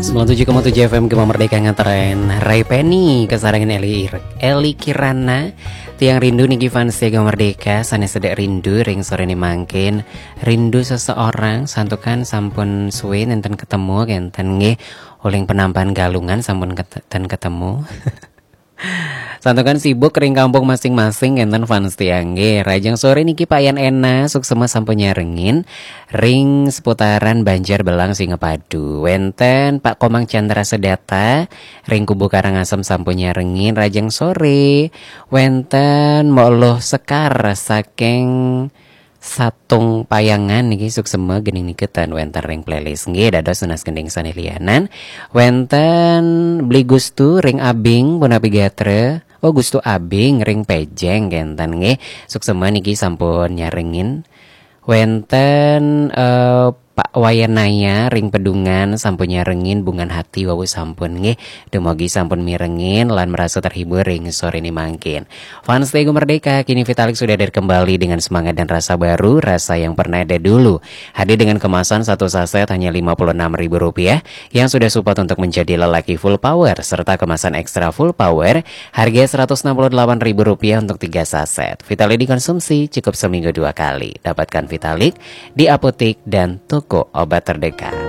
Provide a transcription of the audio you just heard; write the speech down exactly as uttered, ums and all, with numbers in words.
Sembilan tujuh koma tujuh F M Gema Merdeka ngetren. Ray Penny, kesarangan Eli Ir-, Eli Kirana. Tiang rindu niki fans Gema Merdeka, sanes sedek rindu ring sore ni mangkin. Rindu seseorang, santukan sampun suwe nenten ketemu, kenten nggih. Uling penampan Galungan sampun keten ketemu. Santukan sibuk ring kampung masing-masing, kenten fans tiang nggih. Rajang sore niki Pak Yan Ena, suksema sampun nyarengin. Ring seputaran Banjar Belang Singapadu. Wenten Pak Komang Chandra Sedata, ring Kubu Karangasem sampun nyarengin. Rajang sore. Wenten Mok Loh Sekar saking Satung Payangan niki, suksema gening niki ten wenten ring playlist nggih, dados tunas gending sane lianan. Wenten Bli Gustu ring Abing, punapi gatra. Oh, Gustu Abing ring Pejeng kenten nggih. Suksema niki sampun nyarengin. Wenten eh, Pak Wayanaya ring Pedungan sampun nyarengin, Bungan Hati wau sampun nggih. Dumogi sampun mirengin lan merasa terhibur ring sore ni mangkin. Fans Gema Merdeka, kini Vitalik sudah hadir kembali dengan semangat dan rasa baru, rasa yang pernah ada dulu. Hadir dengan kemasan satu saset hanya lima puluh enam ribu rupiah, yang sudah support untuk menjadi lelaki full power, serta kemasan ekstra full power, harga seratus enam puluh delapan ribu rupiah untuk tiga saset. Vitalik dikonsumsi cukup seminggu dua kali. Dapatkan Vitalik di apotek dan toko obat terdekat.